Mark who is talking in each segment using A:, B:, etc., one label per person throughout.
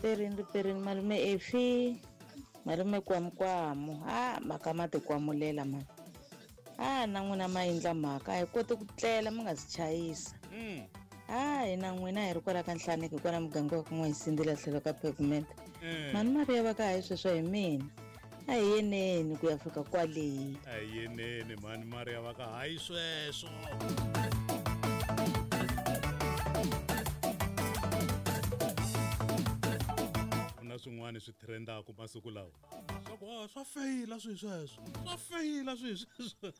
A: Perini riperini malume Efi, malume Kwamukwamu. Ha mhaka ma tikwamulela mani. Ha na n'wina ma endla mhaka a hi koti ku tlela mi nga si chayisa. Ha hina n'wina hi ri kwala ka Nhlaneki kwala muganga wa ka N'wayisindzile tlhelo ka pavement. Mhani Mariya va ka hayi sweswo hi mina. A hi yeneni ku ya fika kwale.
B: A hi yeneni mhani Mariya va ka hayi sweswo. Ku na swin'wana swi trendaka masiku lawa swa ku ah, swa feyila swi sweswo swa feyila swi sweswo.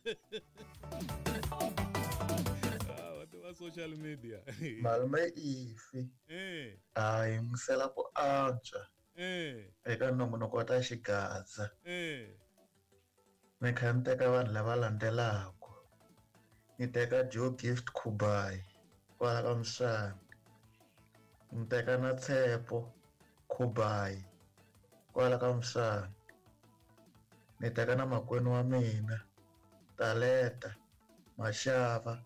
B: Ah, va tiva social media.
C: Malume Ifi a yingisela ku antswa eka nongonoko wa ta xigaza. Ni kha ni teka vanhu lava landzelaka. Ni teka Joe Gift Khubayi kwala ka Muswana. Ni teka na Tshepo Khubayi kwala ka Muswana. Ni teka na makwenu wa mina Taleta Mashava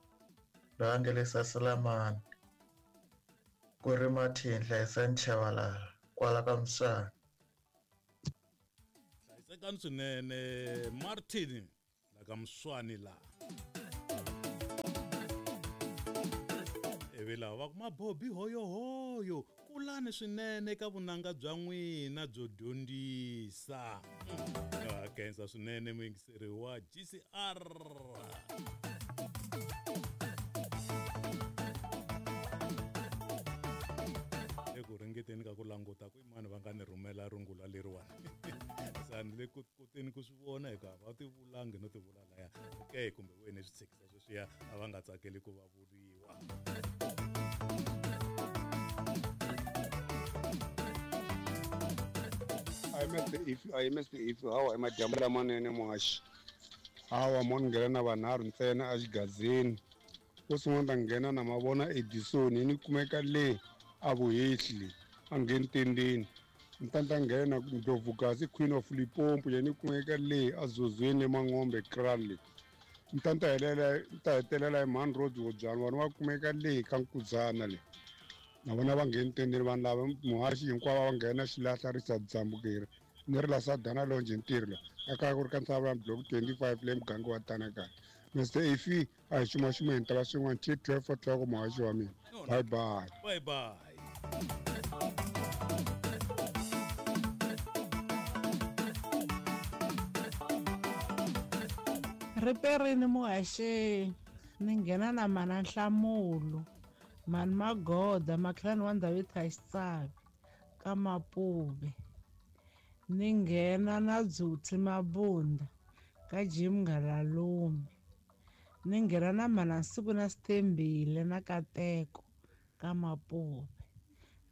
C: loyi a nga le Saselamani ku ri Martin Hlayisani Chabalala kwala ka Muswana.
B: Hlayisekani swinene Martin la ka Muswani la. Ivi lava va ku mabobi hoyohoyo kulani swinene eka vunanga bya n'wina byo dyondzisa. Ha khensa swinene muyingiseri wa GCR. Eku ringeteni ka ku languta ku i mani va nga ni rhumela rungula leriwani. Se a ni le ku koteni ku swi vona hikuva a va ti vulangi no ti vula laya. Okay kumbe wena swi tshikisa sweswiya a va nga tsakeli ku va vuriwa.
D: I MSP if hawa i madyambu lamanene muhaxi. Hawa mo ni nghena na vanharhu ntsena exigazini. Wo sungula ni ta nghena na mavona Edison ni kumeka le a Vuhehli a ngheni tendeni. Ni ta ta nghena Ndlovukazi Queen of Limpopo yena ni kumeka le a Zozweni Mangombe Kraal le. Ni ta ta helela ni ta hetelela hi Mhani Rose Wodzwana vona va kumeka le ka Nkudzana le. Na vona va ngheni tendeni vanhu lava muhaxi hinkwavo va nghena xilahla Richard Dzambukeri. Ni ri la Sadana Lounge ntirho la. A kaya ku ri ka Ntshavana Block 25 le muganga wa Tanakana. Mr Efi a hi xumaxumeni ta va swin'wana till 12 o'clock muhaxi wa mina. Bye bye.
B: Bye bye.
E: Riperini muhaxi ni nghena na mana Nhlamulo mhani Magoda makhelwani wa ndhawu yo Thaxitsavi ka Mapuve ni nghena na Dzutsi Mabunda ka Jim Ngalalume ni nghena na mana Nsiku na Sithembile na Kateko ka Mapuve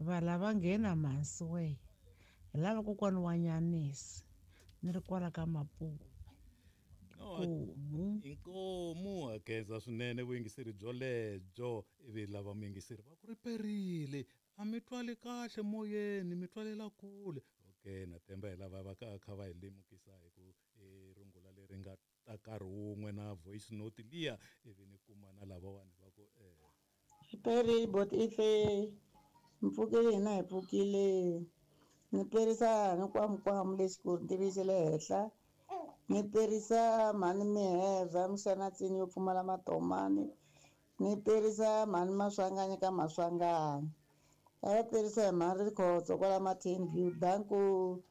E: va lava nghena mhansi we hi lava kokwani wa Nyanisi ni ri kwala ka Mapuve.
B: Inkomu. Inkomu ha khensa swinene vuyingiseri byolebyo ivi lava muyingiseri va ku ri perile a mi twali kahle moyeni mi twalela kule. Okay na themba hi lava va ka kha va hi lemukisa hi ku rungula leri nga ta nkarhi wun'we na voice note liya ivi ni kuma na lavawani va ku
F: Peri bot ife mpfukile hina hi pfukile ni perisa ni kwamukwamu lexikulu ni xa le henhla ni perisa mhani mihevha mixanatsini yo pfumala matomani ni perisa mhani maswanganyi ka maswanganyi a va perisa hi mhani Rikhotso kwala Martin View danku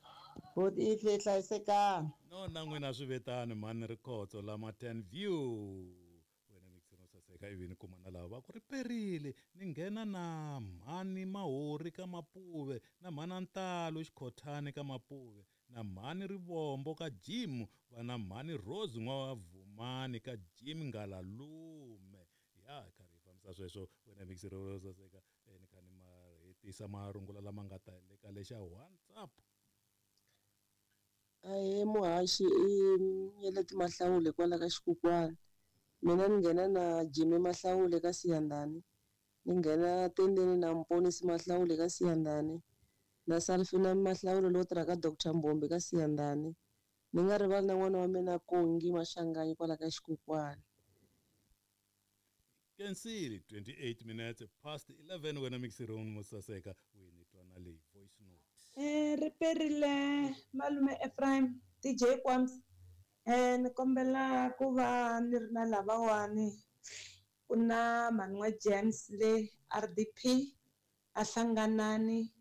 F: bot ife hlayisekani.
B: No na n'wina swi vetani mhani Rikhotso la Martin View. Wena mixino saseka ivi ni kuma na lava va ku ri perile ni nghena na mhani Mahori ka Mapuve na mhana Ntalo Xikhothani ka Mapuve na mhani Rivombo ka Jim va na mhani Rose n'wa Vumani ka Jim Ngalalume. Ya karhi hi fambisa sweswo wena mixino saseka ni kha ni ma hetisa marungula lama nga ta le ka lexa WhatsApp.
G: Ahee muhaxi i Nyeleti Mahlawule kwala ka Xikukwana. Mina ni nghena na Jimmy Mahlawule ka Siyandhani, ni nghena tendeni na Mponisi Mahlawule ka Siyandhani, na Salfina Mahlawule lowo tirha ka Dr Mbombi ka Siyandhani. Ni nga rivali na n'wana wa mina Kongi Mashanganyi kwala ka Xikukwana.
B: Kensile 28 minutes past 11 wena mixironi mo saseka wini twana leyi voice note.
H: Ri perile malume Ephraim DJ Kwams ni kombela ku va ni ri na lavawani ku na mhani n'wa James le R_D_P a Hlanganani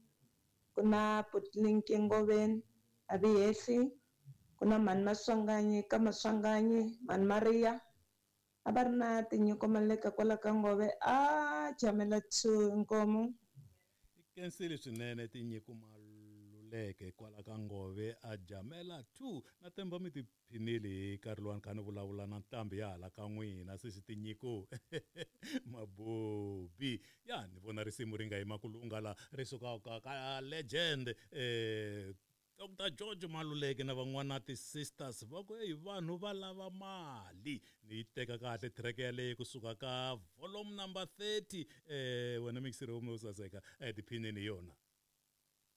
H: ku na Butlinki Ngoveni a Vihehli ku na mhani Maswanganyi ka Maswanganyi mhani Maria a va ri na tinyiko Maleka kwala ka Ngove a jamela 2 inkomu.
B: Khensile swinene Tinyiko Maluleke kwala ka Ngove a jamela 2 na temba mi tiphinile hi nkarhi luwani kha ni vulavula na ntambi ya hala ka n'wina sesi Tinyiko Mabobi ya ni vona risimu ri nga yima ku lungha la ri suka ka ka legend eh Doctor George Maluleke na van'wana ti-sisters va ku eyi vanhu va lava mali ni yi teka kahle track yaleyo kusuka ka volume number 30 eh wena mixiri wo saseka eh tiphineni hi yona.